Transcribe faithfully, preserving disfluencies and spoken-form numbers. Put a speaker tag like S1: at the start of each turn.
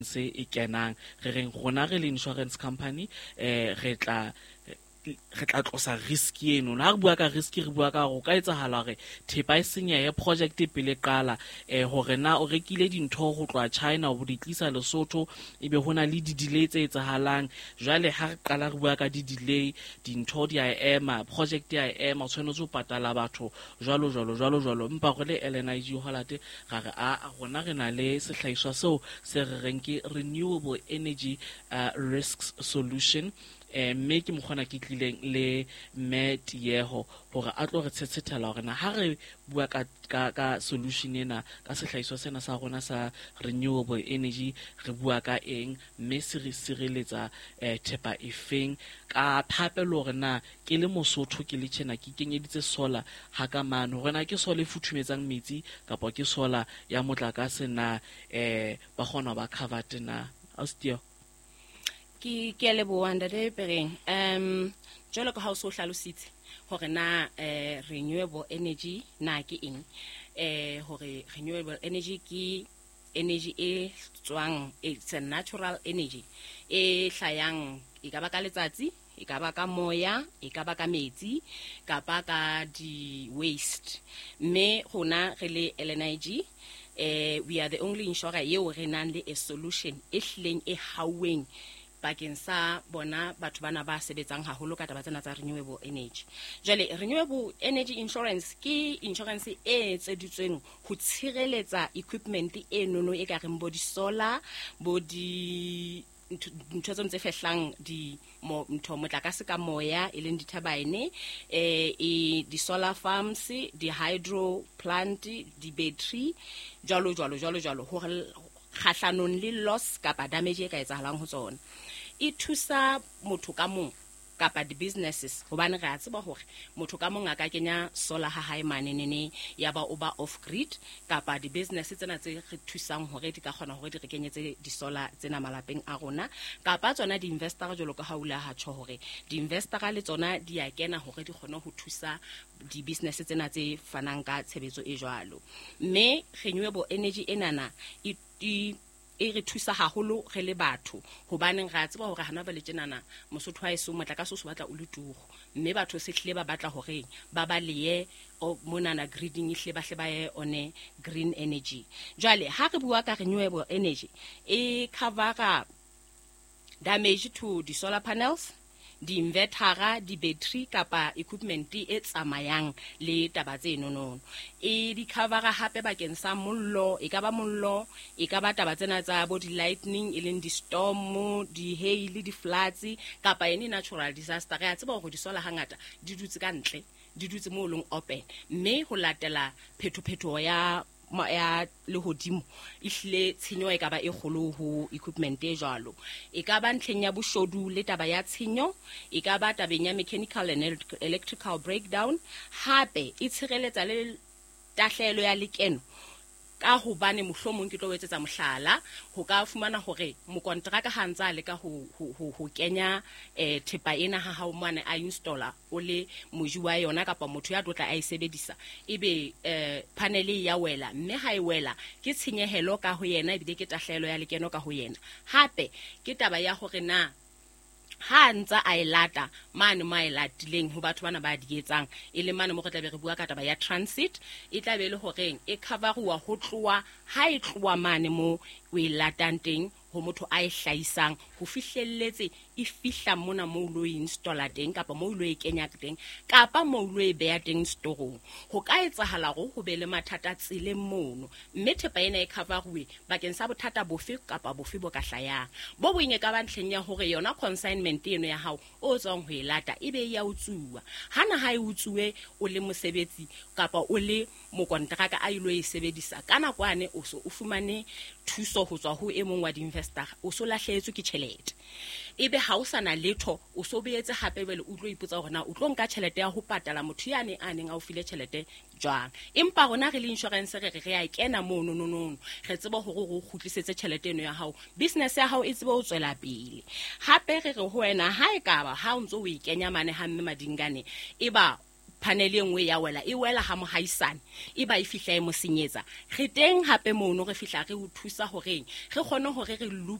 S1: E kenang re reng rona re le insurance company, eh re tla re tla tlosa risk eno. Ha re bua ka risk, re bua ka hore o ka etsahala hore thepa e senyehe project pele qala, eh hore na o rekile dintho ho tloha China ho di tlisa Lesotho, ebe ho na le di-delay tse etsahalang. Jwale ha re qala re bua ka di-delay, dintho di a ema, project ya ema, o tshwanetse ho patala batho, jwalo jwalo jwalo jwalo. Empa re le L N I G Hollard ra re a rona re na le sehlahiswa seo se re reng ke renewable energy uh, risks solution, eh mme ke mokgona ke tlileng le mme Tieho hore a tlo re tshetshethela hore na ha re bua ka ka ka solution ena, ka sehlahiswa sena sa rona sa renewable energy, re bua ka eng, mme se re sireletsa eh, thepa efeng ka hape, le hore na ke le Mosotho ke le tjena ke kenyeditse solar ha ka mane, hore na ke solar e futhumetsang metsi kapa ke solar ya motlakase na, eh ba kgona ho ba covered na, Austie?
S2: ke ke a leboha, ntate Pereng. um jwalo ka ha o so hlalositse hore na eh renewable energy na ke eng, eh hore renewable energy ke energy e tswang, it's a natural energy e hlayang, e ka ba ka letsatsi, e ka ba ka moya, e ka ba ka metsi, kapa ka di-waste. Mme rona re le L N I G, eh we are the only insurer eo re nang le a solution e hlileng e hauweng bakeng sa bona batho bana ba sebetsang haholo ka taba tsena tsa renewable energy. Jwale renewable energy insurance ke insurance e etseditsweng ho tshireletsa equipment e nono e ka reng bo di-solar, bo di ntho tseno tse fehlang di mo, ntho motlakase ka moya, e leng di-turbine, eh e di-solar farms, di-hydro plant, di-battery, jwalo jwalo jwalo jwalo, hore kgahlanong le loss kapa damage e ka etsahalang ho tsona. E thusa motho ka mong kapa di-businesses, hobane re a tseba hore motho ka mong a ka kenya solar ha hae manenene, ya ba o ba off grid, kapa di-business tsena tse re thusang hore di ka kgona hore di re kenyetse di-solar tsena malapeng a rona, kapa tsona di-investor, jwalo ka ha o ile ha tjho hore di-investor le tsona di a kena hore di kgone ho thusa di-business tsena tse fanang ka tshebetso e jwalo. Mme renewable energy enana e, e e re thusa haholo re le batho, hobaneng re a tseba hore hana ba le tjenana Mosotho wa eso motlakase o se batla o le turu, mme batho se hlile ba batla horeng ba baleye monana griding, e hle ba hle ba ye one green energy. Jwale ha re bua ka renewable energy, e covera damage to the solar panels, di-invertera, di-battery kapa equipment e tsamayang le taba tse nonono. E di covera hape bakeng sa mollo, e ka ba mollo, e ka ba taba tsena tsa bo di-lightning, e leng di-storm, di-hail, di-floods, kapa any natural disaster. Re a tseba hore di-solar hangata di dutse ka ntle, di dutse mo leng open, mme ho latela phethophetoho ya ya lehodimo, ehlile tshenyo e ka ba e kgolo ho equipment e jwalo. E ka ba ntlheng ya boshodu le taba ya tshenyo, e ka ba tabeng ya mechanical and electrical breakdown. Hape e tshireletsa le tahlehelo ya lekeno, ka hobane mohlomong ke tlo o etsetsa mohlala, ho ka fumana hore mokonteraka ha ntse a leka ho, ho, ho, ho kenya eh, thepa ena ha hao mane, a installa, o le moji wa yona kapa motho ya tlo tla a e sebedisa, ebe eh, panel e ya wela, mme ha e wela ke tshenyehelo ka ho yena, ebile ke tahlehelo ya lekeno ka ho yena. Hape ke taba ya hore na ha ntsa a e lata mane mo a e latileng ho batho bana ba di etsang, e le mane mo re tlabe re bua ka taba ya transit, e tlabe e le horeng e coveruwa ho tloha ha e tloha mane mo o e latang teng ho motho a e hlahisang, ho fihlelletse e fihla mona mo o lo e installa teng, kapa mo o lo e kenya teng, kapa mo o lo e beha teng storong. Ho ka etsahala hore ho be le mathata tseleng mono, mme thepa ena e coveruwe bakeng sa bothata bofe kapa bofe bo ka hlayang. Bo bong e ka ba ntlheng ya hore yona consignment eno ya hao o tswang ho e lata e be ya utsuwa. Hana ha e utsuwe, o le mosebetsi kapa o le mokonteraka a ilo e sebedisa ka nako ane, o so o fumane thuso ho tswa ho e mong wa di-investor, o so lahlehetswe ke tjhelete, ebe ha o sana letho, o so boetse hape jwale o tlo ipotsa hore na o tlo nka tjhelete ya ho patala motho yane a neng a o file tjhelete jwang. Empa rona re le insurance re re re a kena mono nonono, re tsebe hore re o kgutlisetse tjhelete eno ya hao, business ya hao e tsebe ho tswela pele. Hape re re ho wena, ha e kaba ha o ntso o e kenya mane ha mme Madingane, e ba Panel e nngwe ya wela, e wela ha mohaisane, e ba e fihla e mo senyetsa. Re teng hape mono, re fihla re o thusa horeng re kgone hore re